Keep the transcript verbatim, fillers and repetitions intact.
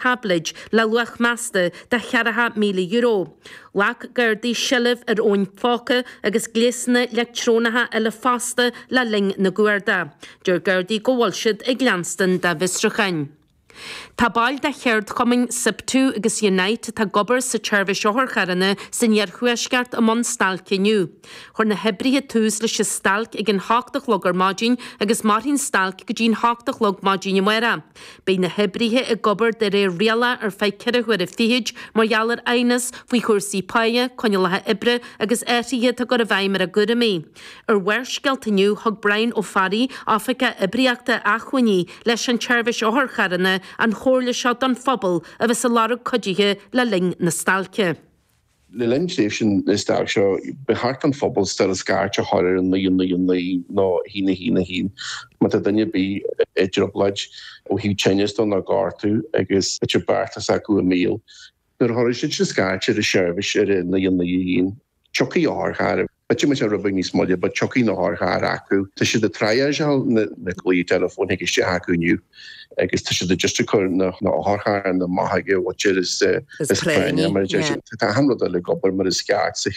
táibléid le luach measta de cheathracha míle euro. Ghlac Gardaí seilbh ar fhóin phóca agus gléasanna leictreonacha eile fosta le linn na gcuardach. Deir Gardaí go bhfuil siad ag leanstan dá bhfiosrúcháin. Tá baill de cheardchumainn SIPTU agus Unite atá ag obair sa tseirbhís otharcharranna san iarthuaisceart i mbun stailce inniu. Chuir na hoibrithe tús leis an stailc ag an hocht a chlog ar maidin agus mairfidh an stailc go dtí an hocht a chlog maidin amárach. Beidh na hoibrithe ag obair de réir rialach ar feadh ceithre huaire fichead mar gheall ar aighneas faoi chúrsaí páighe, coinníollacha oibre agus athruithe atá á gcur i bhfeidhm ar a gcúraimí. Ar Bharrscéalta inniu thug Brian Ó Fearraigh, Oifigeach Oibríochta Acmhainní leis an tseirbhís otharcharranna, an chomhairle seo don phobal a bheas ag lorg cuidithe le linn na stailce. Le linn tréimhse na stailce seo, ba cheart don phobal still scairt a chur ar an naoi naoi naoi nó haon a haon a haon má tá duine ar bith i dtrioblóid ó thaobh tinneas dó nó gortú agus b'fhéidir beartas acu i mbaol. Nuair a chuirfidh siad sin scairt ar an seirbhís ar a naoi naoi a haon, tiocfaidh otharcharr. B'fhéidir go mbeidh sé rud beag níos moille, but tiocfaidh na hotharchairr acu. Tá siad ag triageáil na na glaoigh teileafóin chuig isteach acu inniu agus tá siad just ag cur na na otharcharranna amach ag an mhuintir is is práinne mar a deir siad. Tá achan rud eile ag obair mar is ceart sa